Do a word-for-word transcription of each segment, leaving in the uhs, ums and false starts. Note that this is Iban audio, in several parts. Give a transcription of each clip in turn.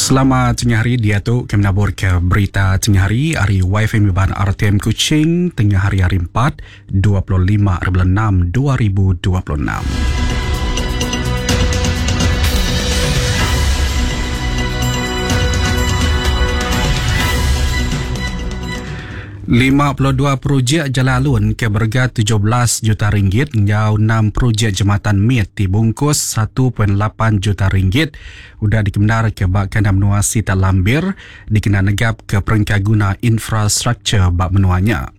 Selamat tengah hari dia tu kami nabur ke berita tengah hari hari Y F M Iban R T M Kuching tengah hari hari empat dua puluh lima bulan enam dua ribu dua puluh enam. lima puluh dua projek jalan alun ke berga tujuh belas juta ringgit ngau enam projek jematan mit dibungkus satu perpuluhan lapan juta ringgit udah dikemenar ke bak kandang menua Sita Lambir dikena negap ke perengkaguna infrastruktur bak menuanya.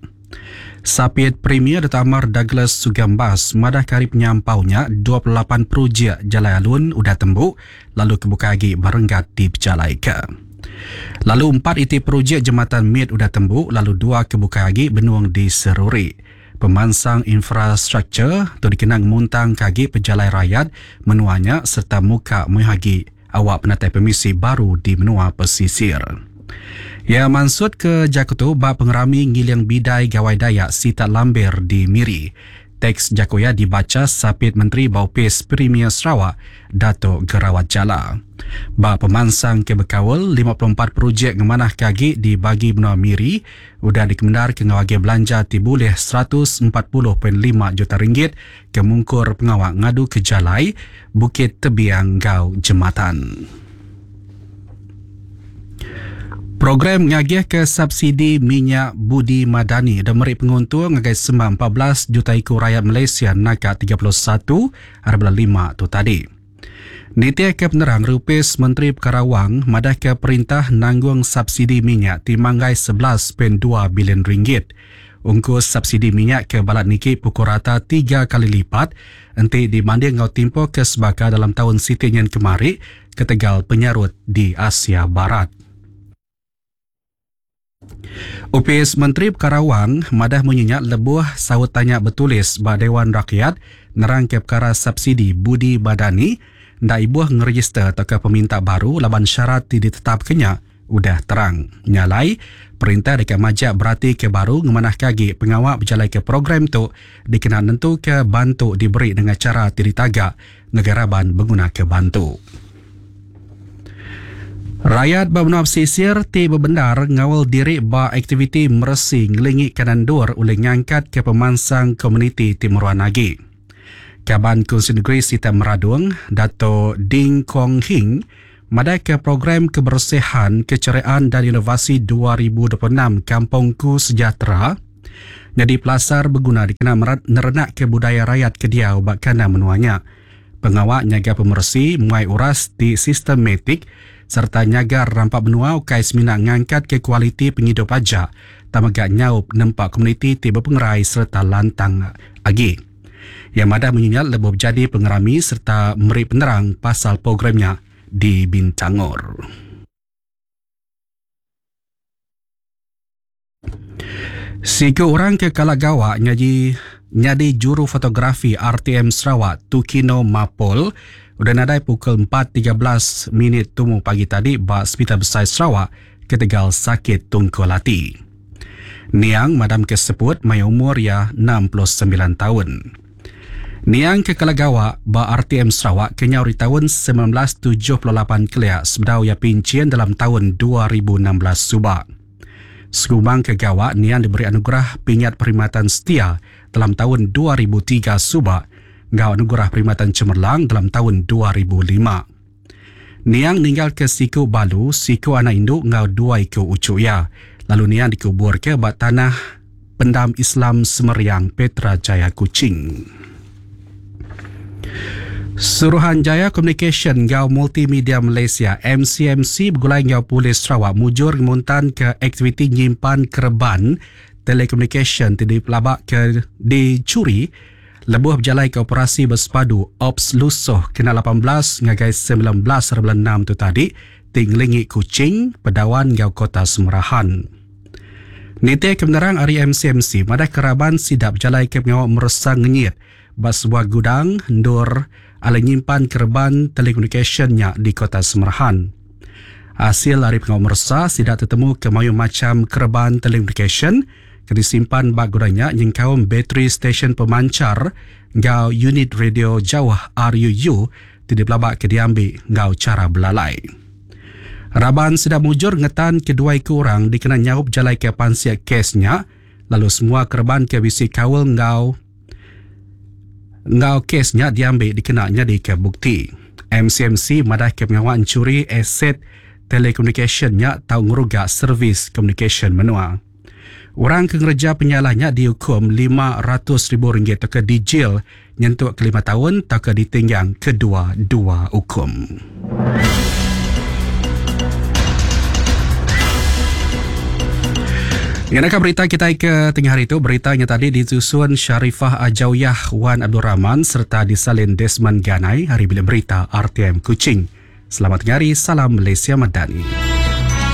Sapit Premier Dato' Amar Douglas Sugambas madah kari penyampaunya dua puluh lapan projek jalan alun udah tembu lalu kebuka lagi barenggat di Pejalaika. Lalu empat iti projek jematan mit udah tembu lalu dua kebuka lagi benuang di Seruri. Pemansang infrastruktur tu dikenang muntang kagi pejalai rakyat menuanya serta muka mehagi awak penatai permisi baru di menua pesisir. Ya maksud ke Jakutu bak pengerami ngiling bidai gawai Dayak Sita Lambir di Miri. Teks Jakoya dibaca Sapit Menteri Baupis Premier Sarawak, Dato' Gerawat Jala. Ba pemansang ke bekawal lima puluh empat projek ngemanah kagi dibagi menua Miri udah dikemendar ke ngawagi belanja ti boleh seratus empat puluh perpuluhan lima juta ringgit ke mungkur pengawak ngadu ke jalai Bukit Tebiang Gau Jematan. Program ngagih ke subsidi minyak Budi Madani dan meri penguntung ngagai sembang empat belas juta iku rakyat Malaysia naka tiga puluh satu bulan lima tu tadi. Nitia ke penerang Rupis Menteri Perkara Wang madah ke perintah nanggung subsidi minyak timanggai sebelas perpuluhan dua bilion ringgit. Ungkus subsidi minyak ke balat niki pukul rata tiga kali lipat enti dibanding ngau tempoh ke sebaka dalam tahun Siti Nyen kemari ketegal penyarut di Asia Barat. Upis Menteri Perkara Wang madah menyenyak lebuh saut tanya bertulis ba Dewan Rakyat nerang ke perkara subsidi Budi Madani ndak ibuh ngeregister atau ke peminta baru laban syarat ti ditetap kenya udah terang. Nyalai perintah dekat majak berarti ke baru ngemanah kagi pengawak berjalai ke program tu dikena nentu ke bantu diberi dengan cara ti ditagak negara ban mengguna ke bantu. Rakyat bermenua pesisir ti berbendar ngawal diri ba aktiviti meresi ngelingi kanan dur oleh ngangkat ke pemansang komuniti Timuran lagi. Kaban Kunsi Negeri Sita Meradung, Dato' Ding Kong Hing, madai ke program kebersihan, keceriaan dan inovasi dua ribu dua puluh enam Kampungku Sejahtera jadi pelasar berguna dikena merenak ke budaya rakyat kediau bak kana menuanya. Pengawak nyaga pemersi muai uras di sistematik serta nyaga rampak benua ukai semina ngangkat ke kualiti penghidup aja tamagak nyaup nempak komuniti ti berpengerai serta lantang agi. Yang madah menyinyal lebih jadi pengerami serta meri penerang pasal programnya di Bintangor. Siku orang ke Kalagawa nyaji nyadi juru fotografi R T M Sarawak Tukino Mapol udah nadai pukul empat tiga belas minit tumu pagi tadi ba Hospital Besar Sarawak ketegal sakit tungkul hati. Niang madam kesebut mai umur ya enam puluh sembilan tahun. Niang ke Kalagawa ba R T M Sarawak kenyau di tahun sembilan belas tujuh puluh lapan keliak sebedau ia pincin dalam tahun dua ribu enam belas subak. Segumang ke Gawak, Niang diberi anugerah Pingat Perkhidmatan Setia dalam tahun dua ribu tiga subak ngau anugerah Perkhidmatan Cemerlang dalam tahun dua ribu lima. Niang ninggal ke siku balu, siku anak induk ngau dua iku ucuk ya. Lalu Niang dikubur ke bak tanah pendam Islam Semeriang Petra Jaya Kuching. Suruhanjaya Communication ngau Multimedia Malaysia M C M C bergulai ngau Polis Sarawak mujur ngemuntan ke aktiviti nyimpan kerban telekomunikasi ti dipelabak ke dicuri lebuh berjalai ke operasi bersepadu Ops Lusuh kena lapan belas ngagai sembilan belas bulan enam tu tadi tinglingi Kuching, Pedawan ngau Kota Semerahan. Nite kebenaran ari M C M C madah keraban sidap berjalai ke pengawak meresang ngenyit ba sebuah gudang ndur ala nyimpan kerban telekomunikasinya di Kota Semerahan. Hasil dari pengawak meresa sidak tertemu ke mayu macam kerban telekomunikasi ke disimpan bak gudangnya nyengkaum bateri stesen pemancar ngau unit radio jauh R U U tidak pelabak ke diambil ngau cara belalai. Raban sida mujur ngetan kedua iku orang dikena nyaup jalai ke pansik kes nya lalu semua kereban ke bisi kaul enggau enggau kes nya diambi dikena nyadika bukti. M C M C madah ke pengawa encuri aset telekomunikasyen nya tau ngeruga servis komunikasyen menua. Orang ke ngereja penyalah nya dihukum lima ratus ribu ringgit atau ke dijil nyentuk ke lima tahun atau ke ditinggang kedua-dua hukum. Ngenaka berita kita ke tengah hari itu, beritanya tadi disusun Sharifah Ajawyah Wan Abdul Rahman serta disalin Desmond Ganai hari Bilik Berita R T M Kuching. Selamat tengah hari, salam Malaysia Madani.